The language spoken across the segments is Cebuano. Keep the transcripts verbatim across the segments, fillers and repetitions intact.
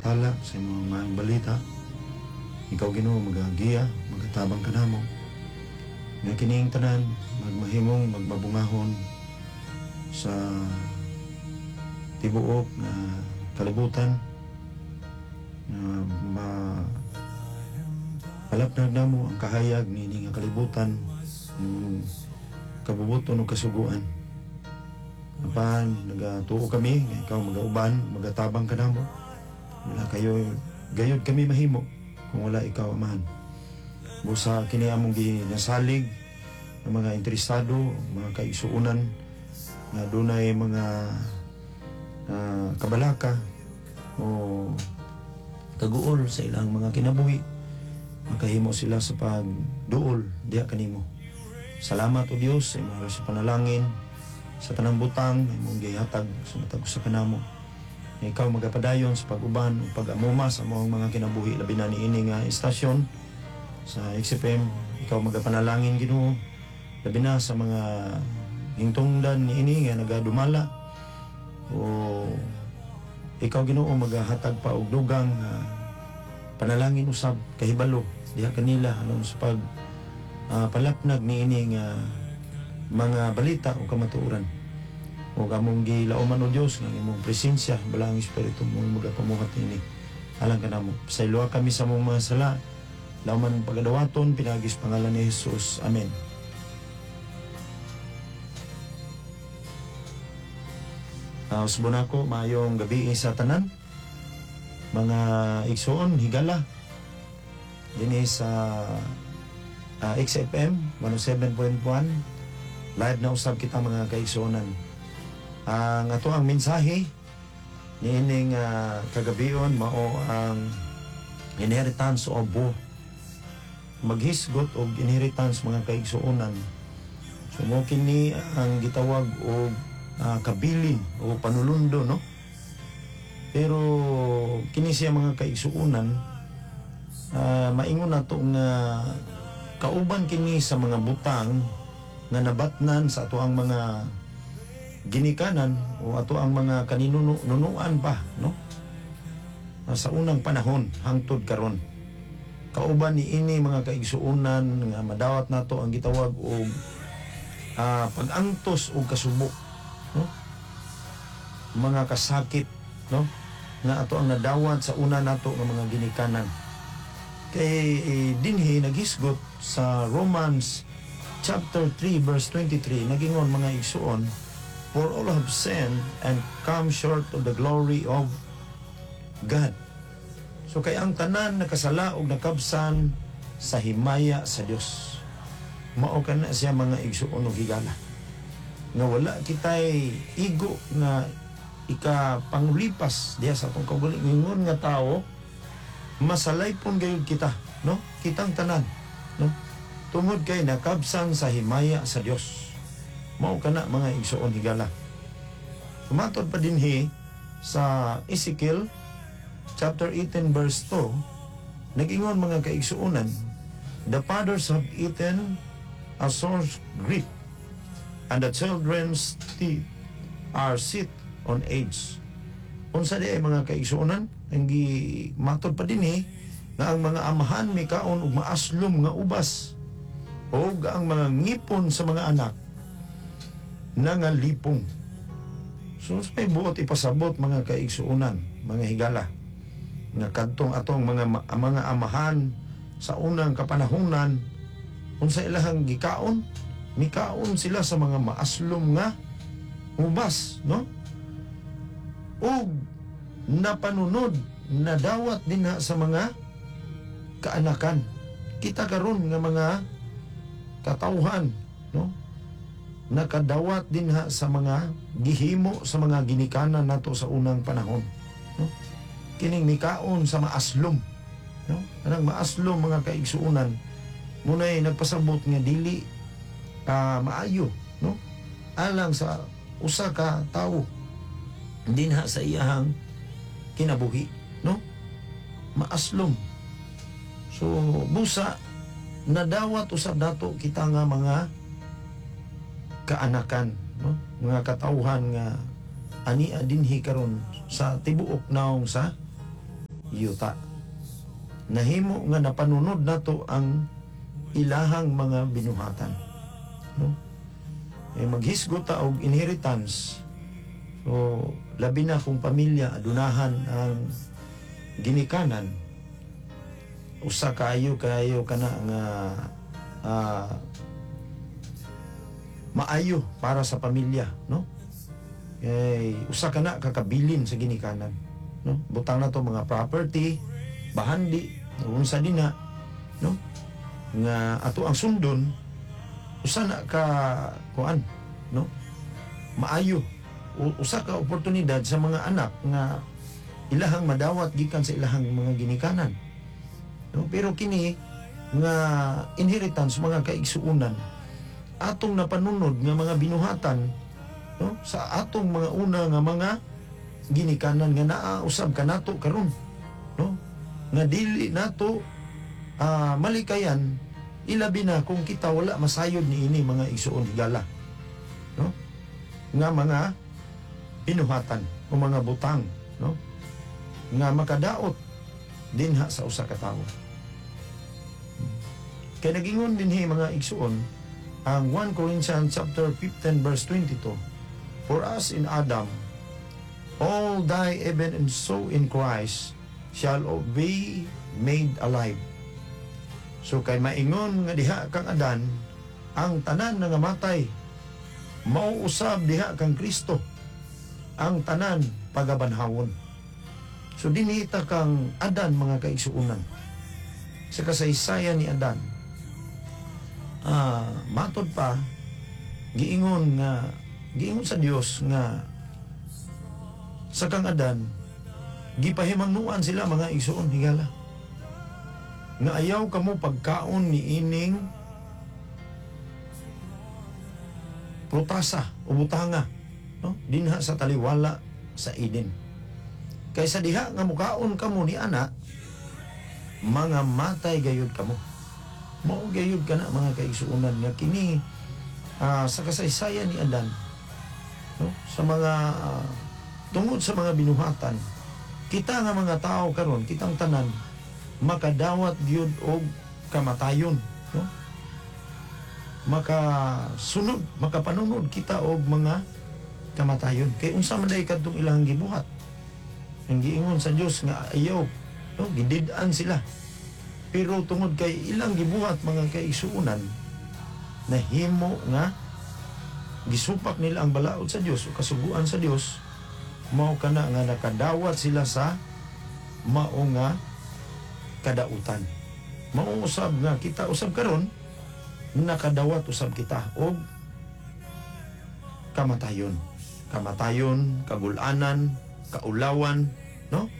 pagpatala sa imong maayong balita. Ikaw, Ginoo, magagiya, magatabang kanamo. Nga kining tanan magmahimong magmabungahon sa tibuok nga kalibutan nga ma palapnag namo ang kahayag niini nga kalibutan ng kabubuton ug kasuguan. Apan nagatuo kami nga ikaw magauban, magatabang kanamo. Wala kayo gayud kami mahimo kung wala ikaw, Amahan. Busa kini among ginasalig ng mga interesado, mga kaigsuonan nga dunay mga ah, kabalaka o kaguol sa ilang mga kinabuhi, makahimo sila sa pagduol diha kanimo. Salamat, O Dios, sa imong sa panalangin sa tanang butang nga imong gihatag sa matag usa kanamo. Nga ikaw magapadayon sa pag-uban ug pag-amuma sa among mga kinabuhi, labi na niini nga istasyon sa X F M. Ikaw magapanalangin, Ginoo, labi na sa mga hingtungdan niini nga nagadumala o ikaw, Ginoo, magahatag pa og dugang ah, panalangin usab, kahibalo diha kanila aron sa pag ah, palapnag niini nga mga balita o kamatuoran. Ug among gilauman, o Dios, nga imong presensya, Balaang Espiritu mo magapamuhat niini alang kanamo. Pasayloa kami sa among mga sala, lauman pagadawaton pinaagi sa pangalan ni Jesus. Amen. Uh, Usbon ako, maayong gabi sa tanan. Mga igsoon, higala. Dinhi sa uh, X F M one oh seven point one. Live na usab kita, mga kaigsuonan. Ang ato ang mensahe niining uh, kagabion mao ang inheritance of woe. Maghisgot og inheritance, mga kaigsuonan. So mo kini ang gitawag og ah, kabilin o panulundo, no? Pero kini siya, mga kaigsuonan, ah, maingon nato nga kauban kini sa mga butang nga nabatnan sa ato ang mga ginikanan o ato ang mga kaninunuan pa, no? Ah, sa unang panahon hangtod karon. Kauban ni ini, mga kaigsuonan, nga madawat nato ang gitawag og ah, pag-antos og kasubo, no? Mga kasakit, no, nga ato ang nadawat sa una nato nga mga ginikanan. Kay eh, dinhi naghisgot sa Romans chapter three verse twenty-three, nagingon, mga igsuon, "For all have sinned and come short of the glory of God." So kay ang tanan nakasala og nakabsan sa himaya sa Dios. Mao kana siya, mga igsuon og higala, nga wala kitay igo nga ikapangulipas diha sa atong kaugalingon nga tawo. Masalaypon gayud kita, no, kitang tanan, no, tungod kay nakabsan sa himaya sa Dios. Mao kana, mga igsuon, higala. Matod pa dinhi sa Ezekiel chapter eighteen verse two, nagingon, mga kaigsuonan, "The fathers have eaten a sour grape and the children's teeth are set on edge." Unsa di ay, mga kaigsuonan, ang gimatod pa dinhi nga ang mga amahan mikaon og maaslom nga ubas ug ang mga ngipon sa mga anak nangalipong. So may buot ipasabot, mga kaigsuonan, mga higala, nga kadtong atong mga mga amahan sa unang kapanahunan, unsa ilahang gikaon? Mikaon sila sa mga maaslom nga ubas, no? Ug napanunod, nadawat dinha sa mga kaanakan. Kita karon nga mga katawhan, no, nakadawat dinha sa mga gihimo sa mga ginikanan nato sa unang panahon, no? Kining mikaon sa maaslom, no? Anang maaslom, mga kaigsuonan, munay nagpasabot nga dili ah, maayo, no, alang sa usa ka tawo dinha sa iyahang kinabuhi, no? Maaslom. So busa nadawat usab nato kita nga mga kaanakan, no, mga katawhan nga ania dinhi karon sa tibuok naong sa yuta. Nahimo nga napanunod nato ang ilahang mga binuhatan, no? Eh, maghisgot ta og inheritance. So labi na kung pamilya adunahan ang ginikanan, usa kaayo kayo kana nga ah, maayo para sa pamilya, no? Kay usa kana kakabilin sa ginikanan, no? Butang na to mga property, bahandi, unsa dinha, no, nga ato ang sundon, usa na ka kuan, no, maayo. U- usa ka oportunidad sa mga anak nga ilahang madawat gikan sa ilahang mga ginikanan, no? Pero kini nga inheritance, mga kaigsuonan, atong napanunod nga mga binuhatan, no, sa atong mga una nga mga ginikanan nga naa usab kanato karon, no, nga dili nato ah, malikayan, ilabi na kung kita wala masayod niini, mga igsuon higala, no, nga mga binuhatan o mga butang, no, nga makadaot dinha sa usa ka tawo. Kay nagingon dinhi, mga igsuon, ang First Corinthians chapter fifteen verse twenty-two, "For as in Adam all die, even and so in Christ shall be made alive." So kay maingon nga diha kang Adan ang tanan nga matay, mauusab diha kang Kristo ang tanan pagabanhawon. So dinhi ta kang Adan, mga kaigsuonan. Sa kasaysayan ni Adan, ah, matod pa giingon nga giingon sa Dios nga sa kang Adan gipahimangnuan sila, mga igsuon higala, nga ayaw kamo pagkaon ni ining prutasa o butanga, no, dinha sa taliwala sa Eden, kaysa diha nga mukaon kamo ni ana, mga matay gayud kamo. Mao gayud kana, mga kaigsuonan, nga kini ah, sa kasaysayan ni Adan, no, sa mga ah, tungod sa mga binuhatan, kita nga mga tao karon, kitang tanan makadawat gyud og kamatayon, no? Makasunod, makapanunod kita og mga kamatayon kay unsa man day kadtong ilang gibuhat ang giingon sa Dios nga ayaw, no? Gidid-an sila, pero tungod kay ilang gibuhat, mga kaigsuonan, nahimo nga gisupak nila ang balaod sa Dios o kasuguan sa Dios. Mao kana nga nakadawat sila sa mao nga kadautan. Mao usab nga kita usab karon nakadawat usab kita og kamatayon. Kamatayon, kagulanan, kaulawan, no?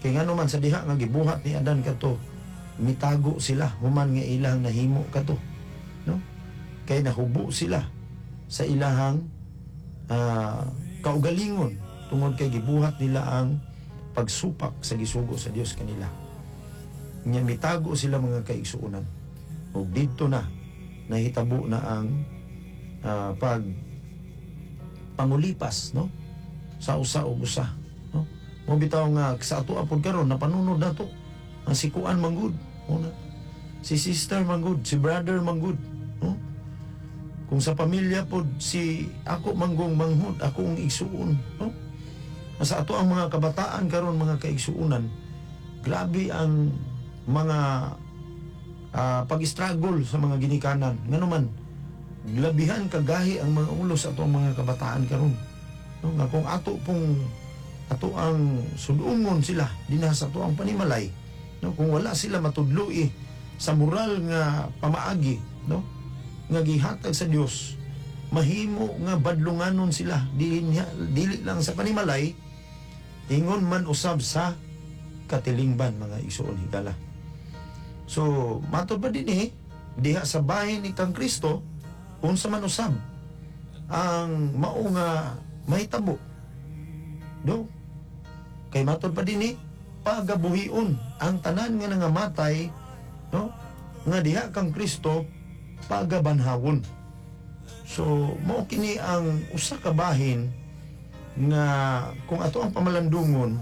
Kay ngano man sa diha nga gibuhat ni Adan kadto, mitago sila human nga ilang nahimo kadto, no? Kay nahubo sila sa ilahang ah, kaugalingon tungod kay gibuhat nila ang pagsupak sa gisugo sa Dios kanila. Nya mitago sila, mga kaigsuonan. Ug didto na nahitabo na ang ah, pag pangulipas, no, sa usa ug usa, no? Mo bitaw nga sa ato apod karon napanunod nato ang si kuan manggud una, si sister manggud, si brother manggud, no? Kung sa pamilya pod, si ako manggong manghud, ako ang igsuon, no? Sa ato ang mga kabataan karon, mga kaigsuonan, grabe ang mga ah, pag-struggle sa mga ginikanan. Ngano man labihan kagahi ang mga ulo sa ato ang mga kabataan karon, no? Nga kung ato pong ato ang sudungon sila dinha sa ato ang panimalay, no, kung wala sila matudloi sa moral nga pamaagi, no, nga gihatag sa Dios, mahimo nga badlunganon sila dili, dili lang sa panimalay, ingon man usab sa katilingban, mga igsuon higala. So matod pa dinhi, diha sa bahin ni kang Kristo, unsa man usab ang mao nga mahitabo, do? Kay matod pa dinhi, pagabuhion ang tanan nga nangamatay, no, nga diha kang Kristo pagabanhawon. So mao kini ang usa ka bahin nga kung ato ang pamalandungon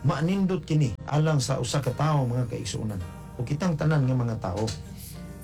Maanindot kini alang sa usa ka tawo, mga kaigsuonan, o kitang tanan nga mga tao.